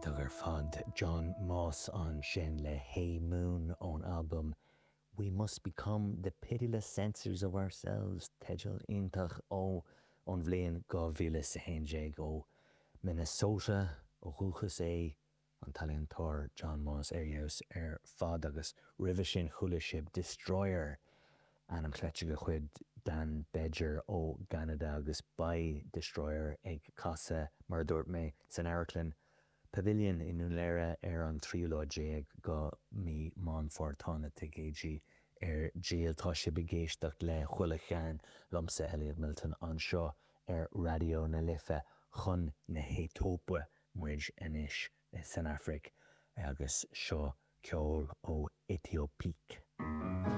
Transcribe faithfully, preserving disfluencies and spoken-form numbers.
Iontach ar fad John Moss ansin le Hey Moon ón album We Must Become the Pitiless Censors of Ourselves teideal iontach ó ón bhliain dhá mhíle is a haon déag ó Minnesota ó dhúchas é an t-ealaíontóir John Moss ar fheabhas ar fad agus roimhe sin chuala sibh Destroyer ainm cleite de chuid Dan Bejar ó Canada agus beidh Destroyer ag casadh mar a dúirt mé san Amharclann Pavilion i nDún Laoghaire ar an tríú lá déag de mhí Meán Fómhair tá na ticéidí ar díol tá sibh ag éisteacht le chuile chearn liomsa Elliot Milton anseo ar Raidió na Life chun na hAetóipe muid anois san Afraic agus seo ceol ó Éthiopiques.